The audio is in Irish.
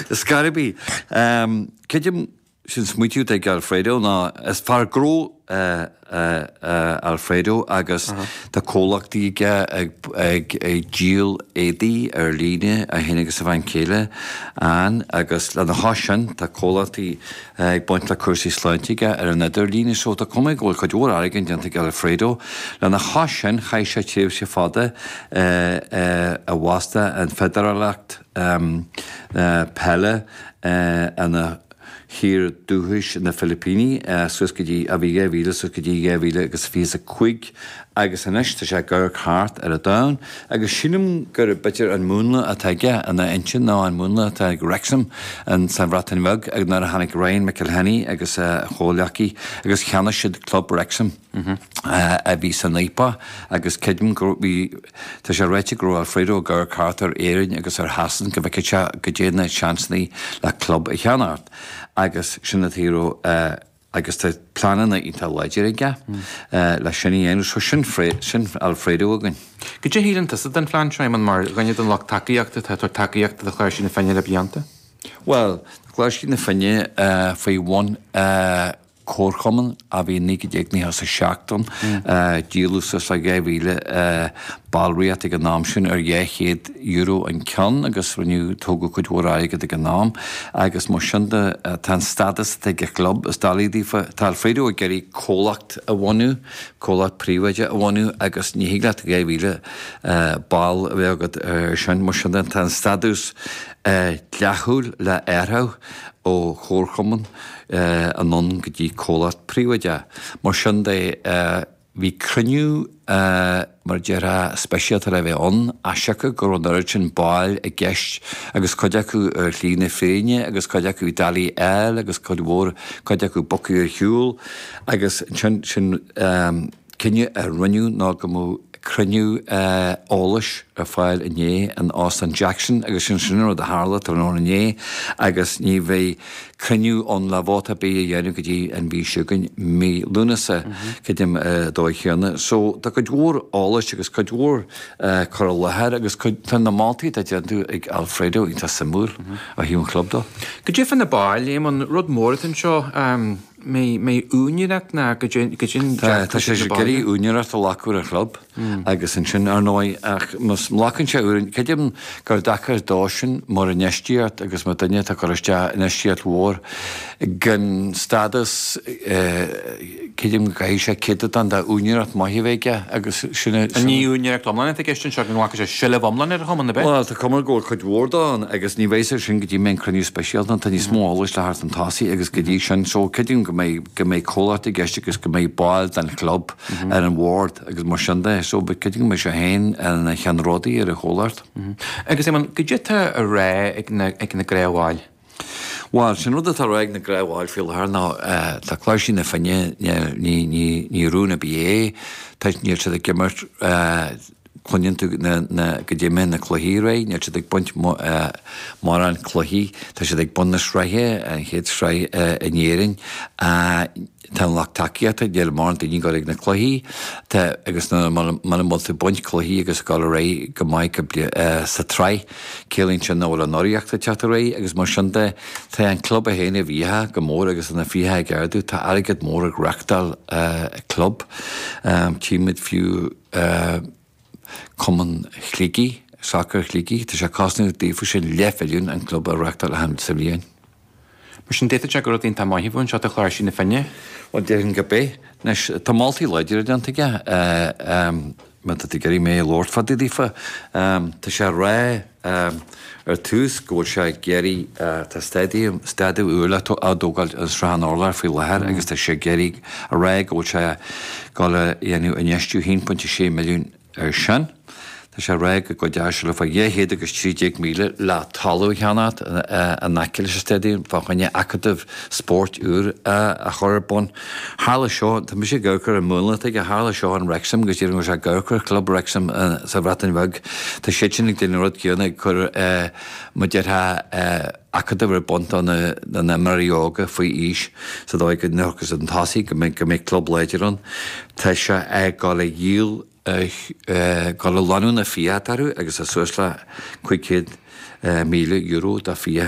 Ar scor ar bith. Creidim sin smaoitiú atá ag Alfredo ná is fear gnó é Alfredo agus tá comhlachtaí aige ag díol éadaí ar líne, é féin agus a bhean chéile Ann, agus lena chois sin tá comhlachtaí ag baint le cúrsaí sláinte aige ar an idirlíne so tá cuma go bhfuil cuid mhór airgid déanta ag Alfredo. Lena chois sin chaith sé tréimhse fada i bhfosta an Feidearálacht Peile ina thír dúchais, na Filipíní, suas go dtí, a bhí 2000 suas go dtí 2025 agus anois tá sé ag amharc thart ar an domhan agus sílim gur b'fhéidir an múnla atá aige ina intinn ná an múnla atá ag Wrexham sa Bhreatain Bheag nuair a tháinig Ryan McElhinney agus a chomhleacaí agus cheannaigh siad club Wrexham a bhí san fhaopach agus creidim go bhí tá sé ráite go raibh Alfredo ag amharc thart ar Éirinn agus ar Shasain go bhfeicfeadh sé goidé na seansanna le club a cheannacht agus sin an tuige a raibh agus tá pleananna iontach láidir aige le sin a dhéanamh. So sin sin Alfredo againn. Goidé a shíleann tusa den phlean seo, Éamonn, mar dhuine den lucht tacaíochta atá ag tabhairt tacaíochta do Chláirsigh na Finne le blianta? Bhuel, tá Cláirsigh na Finne faoi bhun comharchumann a bhí i 1997 ann. Díoladh suas le 2,000 ballraíocht ag an am sin ar €200 an ceann agus rinneadh, tógadh cuid mhór airgead ag an am agus mar sin de tá an stádas atá ag an chlub, is doiligh daofa, tá Alfredo ag iarraidh comhlacht a bhunú, comhlacht príobháideach a bhunú agus ní thig leat 2,000 ball a bheith agat ar sin, mar sin de tá an stádús dleathúil le athrú ó chomharchumann anonn go dtí comhlacht príobháideach. Mar sin de, bhí cruinniú, mar a déarfá, speisialta le bheith ann, as siocair go raibh an oiread sin baill i gceist agus cuid acu ar shlí na fírinne agus cuid acu doiligh a fháil agus cuid mhór, cuid acu bogtha ar shiúl agus ansin sin cinneadh a rinneadh ná go mbeadh cruinniú eolais ar fáil inné in Óstán Jackson agus sin sin an rud a tharla tráthnóna inné agus ní bheidh cruinniú ann le vóta ar bith a dhéanamh go dtí an mhí seo chugainn, mí Lúnasa, creidim an dóigh chéanna. So tá cuid mhór eolais agus cuid mhór cur i láthair agus cuid, tá na moltaí atá déanta ag Alfredo iontach suimiúil ó thaobh an chlub dó. Goidé fá na baill, Éamonn, rud mór atá anseo, mbeidh úinéireacht ná goidé an Tá, tá sé ag iarraidh úinéireacht a ghlacadh ar an chlub agus ansin, ar ndóigh, ach má ghlacann sé úinéireacht, creidim gur deacair dó sin mar infheistíocht agus mar duine atá ag cur isteach infheistíocht mhór gan stádas, creidim go gcaithfidh sé céatadán de úinéireacht maith a bheith aige agus sin é. Ní úinéireacht iomlán atá i gceist anseo, go nglacfaidh sé seilbh iomlán ar an chumann, ab ea? Bhuel, tá cuma go bhfuil cuid mhór dó ann agus ní bheidh sé sin go dtí mbeidh an cruinniú speisialta ann. Tá níos mó eolais le theacht chun tosaigh agus go dtí sin, so creidim go mbeidh, go mbeidh comhlacht i gceist agus go mbeidh baill den chlub ar an bhord agus mar sin de. So creidim go mbeidh sé féin ina cheannródaí ar an chomhlacht. Agus Éamonn, goidé atá á rá ag na, ag na gnáthbhaill? Bhuel, sin rud atá á rá ag na gnáthbhaill faoi láthair ná tá Cláirsigh na Finne, ní, ní, ní rún ar bith é, tá, níl siad ag imirt, cluineann tú na, na, goidé mar na cluichí ar aghaidh, níl siad ag baint mórán cluichí, tá siad ag bun na sraithe, an chéad sraith in Éirinn. Tá an lucht tacaíochta, níl mórán daoine ag dul ag na cluichí, tá, agus muna bhfuil tú ag baint cluichí agus ag dul ar aghaidh go maith go, sa tsraith, ciallaíonn sin nach bhfuil an urraíocht ag teacht ar aghaidh agus mar sin de, tá an club é féin i bhfiacha go mór agus tá na fiacha ag ardú, tá airgead mór ag reáchtáil club. Tchímid fiú Cumann Shligigh, Sacar Shligigh, tá sé ag cosnú daofa sin leathmhilliún an club a reáchtáil achan sa bhliain. Mar sin, d'fhéadfadh sé gur rud iontach maith a bheadh anseo do Chláirsigh na Finne. Bhuel, déarfainn gurb é. Anois, tá moltaí láidre déanta aige, má tá tú ag iarraidh mé a labhairt fá dtaobh daofa. Tá sé ag rá ar tús go bhfuil sé ag iarraidh, tá staidiam, staidiam úr le á dtógáil i Srath an Urláir faoi láthair agus tá sé ag iarraidh a rá go bhfuil sé ag dul a dhéanamh infheistiú 1.6 milliún Air sin, tá sé ag rá go gcuideoidh sé le fá 213,000 le talamh a cheannacht in aice leis an staidiam fá choinne acadamh spóirt úr a chur ar bun. Tharla seo, tá mise ag amharc ar an múnla atá aige, tharla seo in Wrexham agus déarfainn go bhfuil sé ag amharc ar chlub Wrexham sa Bhreatain Bheag. Tá siadsan ag déanamh an rud céanna, ag cur, mar a déarfá, acadamh ar bun do na n-imreoirí óga faoi aois sa dóigh go n-amharcfaidh siad chun tosaigh, go mbeidh club láidir ann. Tá sé ag dul a dhíol, ag dul a lánú na fiacha atá orthu agus tá suas le €500,000 de fiacha.